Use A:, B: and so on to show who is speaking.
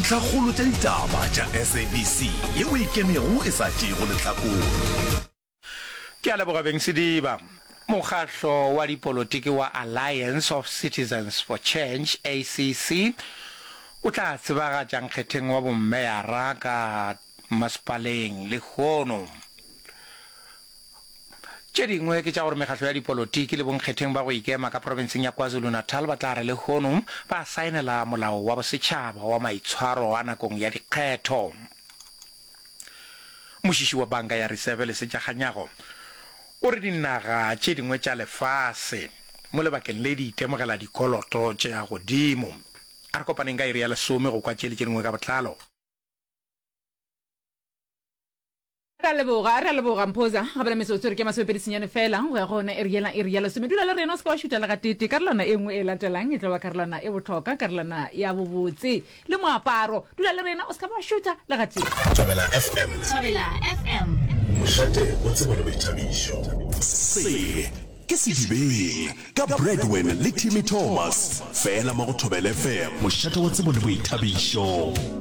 A: Dintlhakgolo tša ditaba tša SABC yeo e ikemego e sa tšeego lehlakore.
B: Ke a leboga beng Sediba. Mokgahlo wa dipolotiki wa Alliance of Citizens for Change, ACC, o tla tsebagatša nkgetheng wa bommeyara ka masepaleng lehono. Tše dingwe ke tša gore mekgahlo ya dipolotiki le bonkgetheng ba go ikema ka profenseng ya KwaZulu-Natal ba tla re lehono ba saenela molao wa bosetšhaba wa maitshwaro a nakong ya dikgetho. Mošiši wa Banka ya Riseve Lesetša Kganyago o re dinaga tše dingwe tša lefase mo lebakeng le di itemogela dikoloto tša godimo. A re kopaneng ka iri ya lesome go kwa tše le tše dingwe ka botlalo.
C: Re a leboga, re a leboga Mphoza. Gabela metsotso re ke masomepedi senyane fela go ya go yona iri yela, iri ya lesome. Dula le rena o se ke wa šutha le gateetee. Karolwana e nngwe e latelang e tlo ba karolwana e bohlokwa, karolwana ya bobotse le moaparo. Dula le rena o se ka ba wa šutha le gatee.
A: Thobela FM.
D: Thobela FM.
A: Mošate wa tsebo le boithabišo.
E: Se ke Sedibeng ka Bradwin le Timmy Thomas, fela mo go Thobela FM. Mošate wa tsebo le boithabišo.